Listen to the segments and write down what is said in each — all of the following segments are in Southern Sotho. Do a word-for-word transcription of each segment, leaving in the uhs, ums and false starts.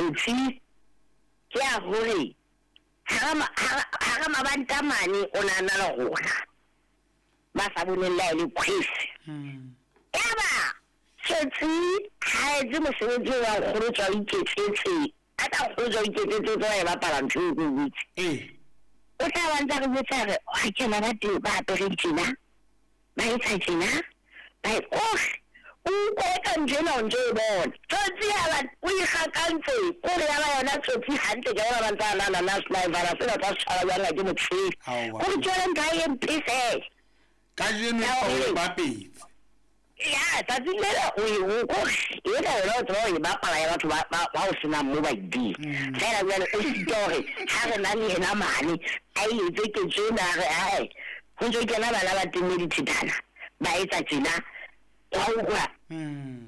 Tsotsi ke ya hore hara mabanta mane o na na le rona ba sa boneng le ha e le kgwese. Yaba Tsotsi ha etse mosebetsi wa nkgono tswa o iketsetse, a tla nkgono tswa o iketsetse o tswa e bapala ntho eo ke o botse. O tla ba ntsa re botsa re ha kena ba teng ba apere tjena, ba etsa tjena, ba oh o utlwa eka ntho ena o ntso e bona. Tsotsi ya ba o ikgakantse kore ya ba yona Tsotsi hantle ke bona ba ntsa nana na sniper sena tsa tshwara jwang ha ke motshepe. Kore ke yona ntho e mpe fela. Kajeno o bapetse. Ya tsatsi lena o e o kore e ka yona o tseba o e bapala ya batho ba ba o senang mo ba iding. Fela jwale o sitwa hore ha re na le yena mane a e etse ketso ena re ae ho ntso kena bana ba teng dithethana ba etsa tjena wa utlwa.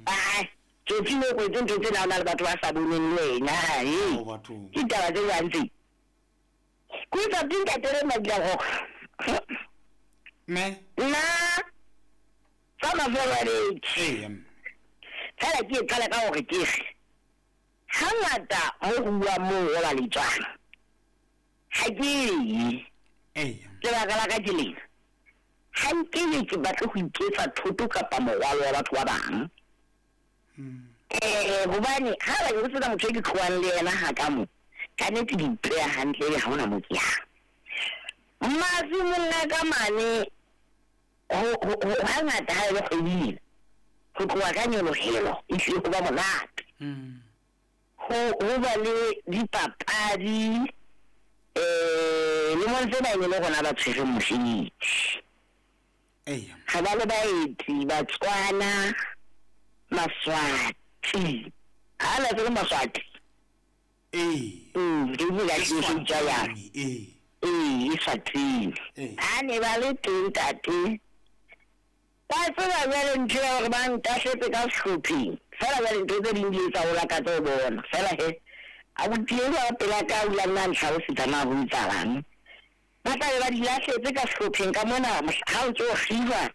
Ai Tsotsi le ko ntho tsena o na le batho ba sa boneng le wena e ke taba tse jwang tse. Ko tsa dinka tere madila go me nna tsa mafelo a beke. Fela ke e qala ka hore ke re hangata mo ho bua moo ho ba letswana ha ke ye. Lebaka la ka ke lena, ha nkebe ke batle ho iketsa thoto kapa morwalo wa batho ba bang. Eh hobane ha ba ke sena motho e ke tlohang le yena ha ka mo ka nnete di ipeya hantle ebe ha hona mo ke yang. Masimong a ka mane hangata ha e le kgweding ho tloha ka nyolohelo e hlile ho ba monate. Ho ho ba le dipapadi eh lemong tsena e ne le rona ba tshwereng mosebetsi. Ga ba le baeti Batswana, Maswati. Ha la tsebe Maswati? Ee. Mm, ke bua ka tja ya. Ee. Ee, Eswatini. Ha ne ba le teng tate. Ba tseba jwale ntho ya hore ba ntahletse ka sehlopheng. Fela jwale ntho tse ding di etsa o lakatsa ho bona. Fela he abuti eo a pela ka o la nna ntlhalosetsa na ho etsahalang. Ba tla be ba di lahletse ka sehlopheng ka mona ha o ntso kgiba.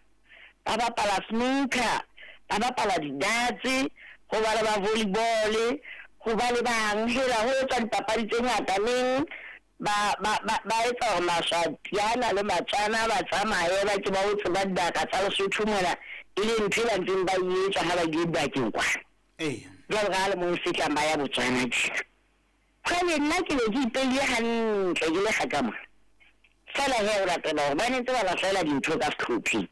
Ba bapala snooker, ba bapala di-darts, ho ba le ba volleyball, ho ba le bang hela ho etswa dipapadi tse ngata neng ba ba ba ba etsa hore Maswatiana le Batswana ba tsamaye ba ke ba o tseba dibaka tsa Lesotho mona e le ntho e ba ntseng ba e etsa ha ba ile dibakeng kwa. Ee. Jwale ka ha le moo fetlang ba ya Botswana tjena. Jwale nna ke ne ke ipeile hantle ke le kgaka mona. Fela he o latela hore ba ne ntse ba lahlela dintho ka sehlopheng.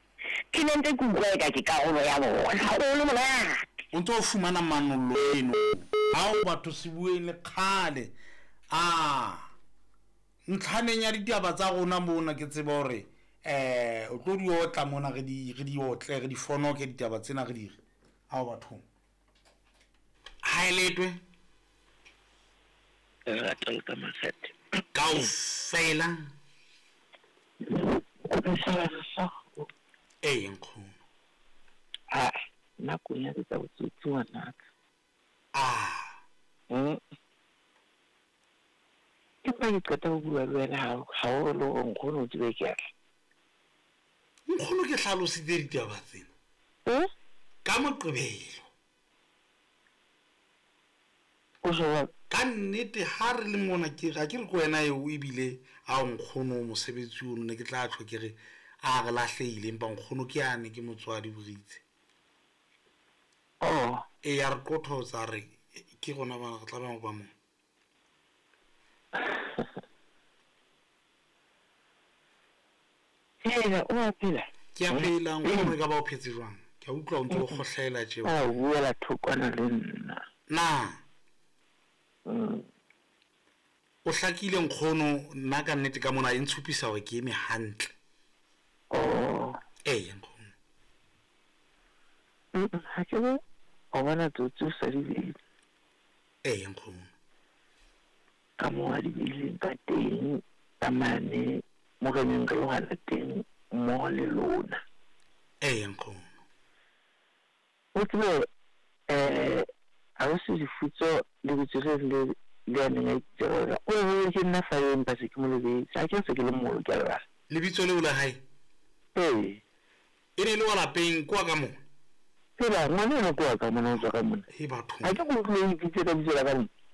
Ke ne ntse ke utlwa eka ke karolo ya bona. Ho le monate. O ntso fumana manollo eno. Ha o batho se bueng le kgale. Ah. Ntlhaneng ya ditaba tsa rona mona ke tseba hore eh o tlo di otla mona re di re di otle re di fonoke ditaba tsena re di re. Ha o bathong. Ha eletwe. Lerato le ka makgethe. Kaofela. Ee nkgono. Ah, nna ko nyaketsa botsotsi ngwanaka. Ah. Mm. Empa ke qeta ho bua le wena ha ha o le hore nkgono o tsebe ke atla. Nkgono ke hlalositse ditaba tsena. Eh? Ka Moqebelo. O jwang? Ka nnete ha re le mona ke ga ke re ko wena eo ebile a nkgono mosebetsi o nne ke tla tjho ke re a re lahlehile empa nkgono ke yane ke motswadi boritse. Oh. E ya re qothotsa re ke rona ba re tlameha ho ba mo. Hela o a phela? Ke a phela nkgono e ka ba o phetse jwang? Ke a utlwa o ntse o kgohlela tje. A o buela thokwana le nna. Na. Mm. O hlakile nkgono nna ka nnete ka mona e ntshupisa hore ke eme hantle. Oh. Ee nkgono. Mm, ha ke bo o bona tsotsi o sa di beile. Ee nkgono. Ka moo a di beileng ka teng ka mane mo re neng re lwana teng mmoho le lona. Ee nkgono. O tsebe eh ausi Lefutso lebitso le le le a neng a itse hore o re ke nna fa empa se ke mo lebetse. Ha ke se ke le moholo ke a lebala. Lebitso leo la hae? Ee. E ne le wa lapeng kwa ka mona? Phela ngwana eno ke wa ka mona o tswa ka mona. He bathong. Ha ke go utlwe o ipitse ka bitso la ka mona.